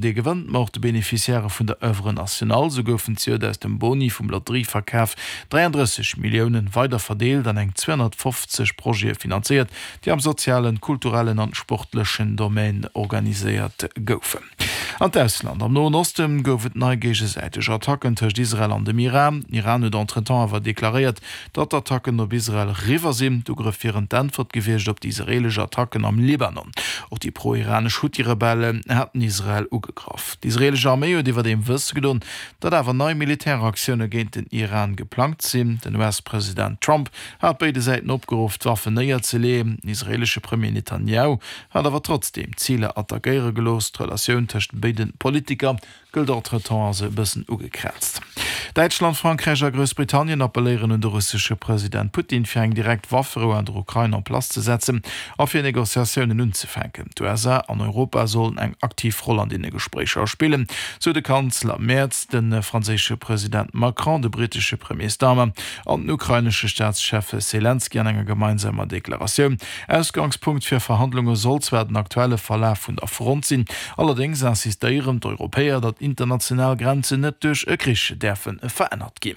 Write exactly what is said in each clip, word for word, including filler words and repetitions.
dee gewënnt, ma och de Beneficiairë vun der Oeuvre nationale. Sou goufen zejoert aus dem Boni vum Lotterieverkaf dräiandrësseg Milliounen weider verdeelt an eng zweehonnertfofzeg Projete finanzéiert, déi am sozialen, kulturellen an sportlechen Domaine organiséiert goufen. An d'Ausland, Am Noen Osten gouf et nei géigesäiteg Attacken tëscht Israel an dem Iran. Den Iran huet entretemps awer deklaréiert, datt d'Attacken op Israel eriwwer sinn. D'Ugrëff wieren d'Äntwert gewiescht op déi israeelesch Attacken am Libanon. Och déi pro-iranesch Huthi-Rebellen haten Israel ugegraff. D'israeelesch Arméi huet iwwerdeem wësse gedoen, datt awer nei Militäraktioune géint den Iran geplangt sinn. Den U S-President Trump hat béide Säiten opgeruff, d'Waffen néierzeleeën. Den israeelesche Premier Netanjahu hat awer trotzdeem Ziler attackéiere gelooss. D'Relatioun tëscht béide Politiker gëllt entretemps als e bëssen ugekraazt. Däitschland, Frankräich a Groussbritannien appelléieren un de russesche President Putin, fir eng direkt Wafferou an der Ukrain en place ze setzen a fir Negociatiounen unzefänken. D'U S A an Europa sollen eng aktiv Roll an deene Gespréicher spillen, sou de Kanzler Merz, de franséische President Macron, de brittesche Premier Starmer an den ukrainesche Staatschef Selenskyj an enger gemeinsamer Deklaratioun. Ausgangspunkt fir Verhandlunge soll zwar den aktuelle Verlaf vun der Front sinn, allerdéngs insistéieren d'Europäer, datt international Grenzen net duerch e Krich däerfe verännert ginn.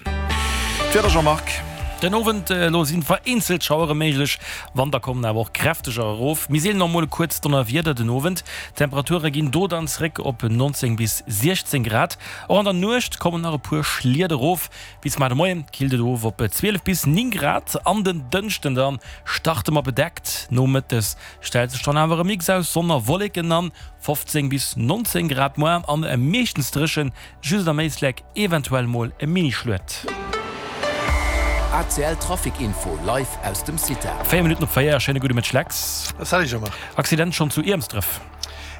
D'Wieder, Jean-Marc. Den Owend elo sinn vereenzelt Schauere méiglech, wann da kommen awer och kräfteger erof. Méi seelen och mol e kuerzt Donnerwieder den Owend. D'Temperature ginn do dann zréck op neunzéng bis siechzéng Grad. Och an der Nuecht kommen nach e puer Schliet erof. Bis mar de Moien killt et of op zwielef bis néng Grad. An den Dënschden dann starte mer bedeckt, nomëttes stellt sech dann awer e Mix aus Sonn a Wolleken an, fofzéng bis nonzéng Grad muer an meeschtens dréchen, just am Éislek eventuell mol e Mini-Schluet. A C L Trafic Info live aus dem CITA. Véier Minutten op véier, schéine gudde Mëtteg Lex. Salut Jean-Marc. Accident schonn zu Iermsdref.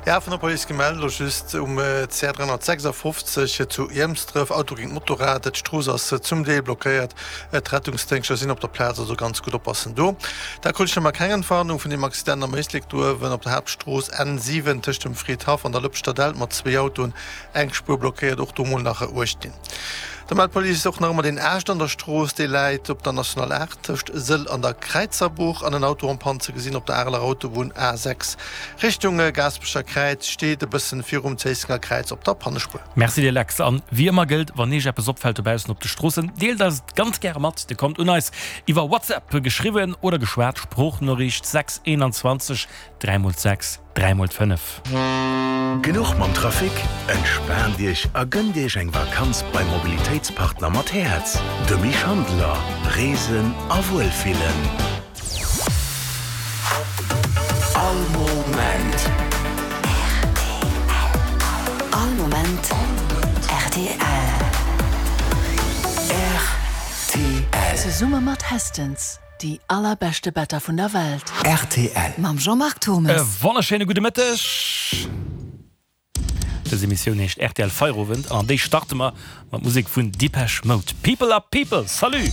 Ja, vun der Police gemellt, elo just um C R dräihonnertsechsafofzeg zu Iermsdref, Auto géint Motorrad, d'Strooss ass zum Deel blockéiert, d'Rettungsdéngschter sinn op der Plaz, also ganz gutt oppassen do. Da krut ech nach emol keng Entwarnung vun deem Accident am Éislek do uewen op der Haaptstrooss N siwen tëscht dem Fridhaff an der Lëpschterdellt mat zwee Autoen, eng Spuer blockéiert, och do mol nach uecht dinn. Da mellt d'Police och nach ëmmer deen Aascht an der Strooss, dee läit op der National aacht tëscht Sëll an der Kräizerbuch an en Auto en panne ze gesinn op der Areler Autobunn A sechs Richtung Gaasperecher Kräiz, steet e bëssen virum Zéissenger Kräiz op der Pannespuer. Merci dir Lex, an wéi ëmmer gëllt, wann iech eppes opfält dobaussen op de Stroossen, deelt eis et ganz gäre mat. Dir kommt un eis iwwer WhatsApp, geschriwwen oder geschwat, Sproochnoriicht sechs eenanzwanzeg dräi mol sechs dräi mol fënnef. Genuch mam Trafic? Entspaant Iech a gënnt Iech eng Vakanz beim Mobilitéitspartner mat Häerz, de Misch Handeler. Reesen a Wuelfillen. All Moment. R T L. All Moment R T L. R T L. Zesumme mat Hästens. Déi allerbeschte Better vun der Welt. R T L. Mam Jean-Marc E Turmes. Wonnerschéine gudde Mëtteg. Dës Emissioun heescht R T L Feierowend an déi starte mer mat Musek vun Depeche Mode. People are People. Salut!